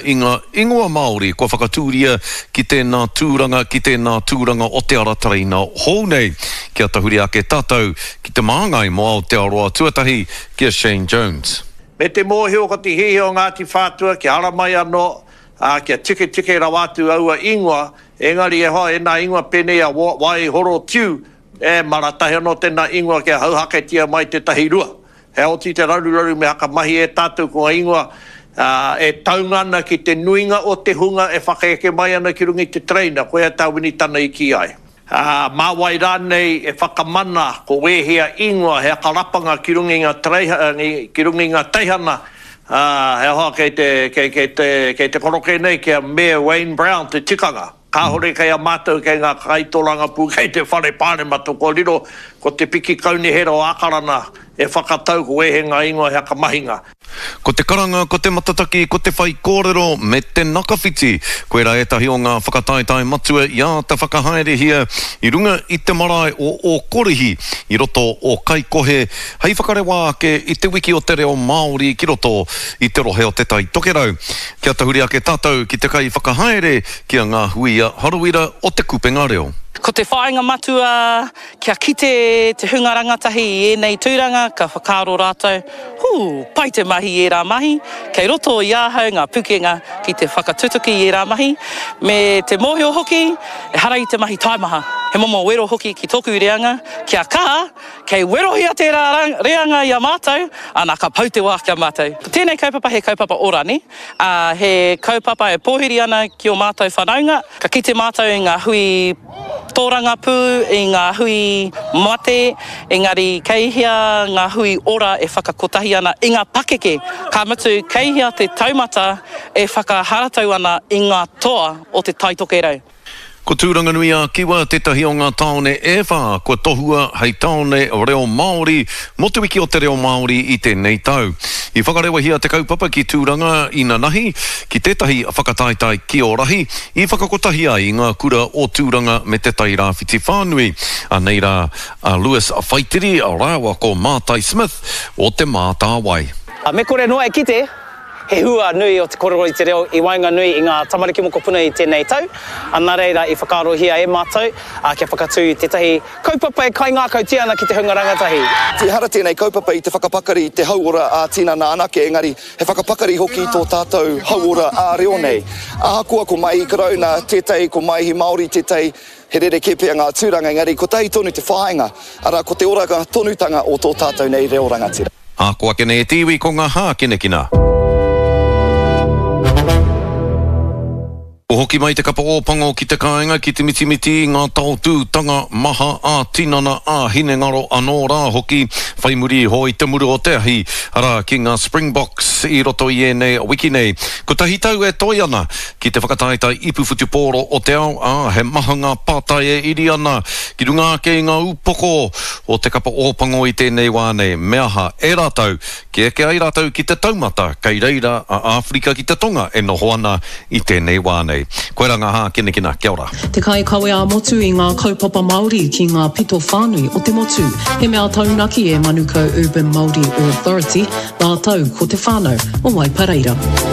I ngā ingoa Māori kua whakatūria ki tēnā tūranga, ki tēnā tūranga o te ara tereina hou nei. Kia tahuri ake tātou ki te māngai mō Aotearoa tuatahi, ki a Shane Jones. Me te mōhio ko te hiahia o Ngāti Whātua kia haramai anō, ā, kia tiketike rawa atu aua ingoa, engari e hoa ēnā ingoa pēnei a Wai Horo Tiu, e mara tahi anō tēnā ingoa kia hauhaketia mai tētahi rua. He oti te raruraru me hakamahi e tātou ko ngā ingoa e taunga ana ki te nuinga o te hunga e whakaeke mai ana ki runga i te tereina, koia tā Winitana i kī ai. Ā, mā wai rānei e whakamana ko wēhea ingoa he akarapanga ki runga i ngā tereiha, ki runga i ngā teihana, ā, he aha kei te, kei, kei te, kei te koroke nei ki a Mayor Wayne Brown te tikanga. Kāore kei a mātou kei ngā kaitorangapū kei te Whare Pāremata kua riro ko te piki kaunihera o Ākarana e whakatau ko ēhea ngā ingoa he whakamahinga. Ko te karanga, ko te matataki, ko te whaikōrero me te nakawhiti, koirā ētahi o ngā whakataetae matua i āta whakahaerehia i runga i te marae o Ōkorihi i roto o Kaikohe hei whakarewa ake i te wiki o te reo Māori ki roto i te rohe o Te Tai Tokerau. Kia tahuri ake tātou ki te kaiwhakahaere, ki a Ngāhuia Harawira o Te Kupenga Reo. Ko te whāinga matua kia kite te hunga rangatahi i ēnei tūranga ka whakaaro rātou, hū, pai te mahi i ērā mahi, kei roto i ahau ngā pukenga ki te whakatutuki i ērā mahi, me te mōhio hoki, ehara i te mahi taimaha, he momo wero hoki ki tōku reanga, kia kaha, Kei werohia tērā reanga i a mātou, ana ka pau te wā ki a mātou. Ko tēnei kaupapa he kaupapa ora, nē? Ā, he kaupapa e pōhiri ana ki ō mātou whanaunga. Ka kite mātou i ngā hui tōrangapū, i ngā hui mate, engari kei hea ngā hui ora e whakakotahi ana i ngā pakeke, ka mutu kei hea te taumata e whakaharatau ana i ngā toa o Te Tai Tokerau. Ko Tūranganui-a-Kiwa tētahi o ngā tāone e whā kua tohua hei tāone reo Māori mō Te Wiki o te Reo Māori i tēnei tau. I whakarewahia te kaupapa ki Tūranga inanahi, ki tētahi whakataetae kiorahi i whakakotahi ai i ngā kura o Tūranga me Te Tai Rāwhiti whānui. Anei rā a Lewis Whaitiri rāua ko Mātai Smith o Te Mātāwai. Me kore noa e kite, He hua nui o te korero i te reo i waenganui i ngā tamariki mokopuna i tēnei tau, nā reira i whakaarohia e mātou kia whakatū i tētahi kaupapa e kaingākautia ana ki te hunga rangatahi. Ehara tēnei kaupapa i te whakapakari i te hauora ā-tinana anake, engari he whakapakari hoki i tō tātou hauora ā-reo nei. Ahakoa ko Maihi Karauna tētahi, ko Maihi Māori tētahi, he rerekē pea ngā tūranga, engari kotahi tonu te whāinga, arā, ko te oranga tonutanga o tō tātou nei reo rangatira. Ako ake nei e te iwi ko ngā hākinakina. Kua hoki mai te kapa Ōpango ki te kāinga ki te mitimiti i ngā taotūtanga maha ā-tinana, ā-hinengaro anō rā hoki, whai muri iho i te muru o te ahi, arā, ki ngā Springboks i roto i ēnei wiki nei. Kotahi tau e toe ana ki te whakataetae ipu whutupōro o te ao, ā, he maha ngā pātai e iri ana ki runga ake i ngā upoko o te kapa Ōpango i tēnei wā nei. Me aha e rātou kia eke ai rātou ki te taumata kei reira a Āwherika ki te Tonga e noho ana i tēnei wā nei. Koirā ngā hākinakina. Kia ora. Te kaikawe ā-motu i ngā kaupapa Māori ki ngā pito whānui o te motu. He mea taunaki e Manukau Urban Māori Authority rātou ko te whānau o Waipareira.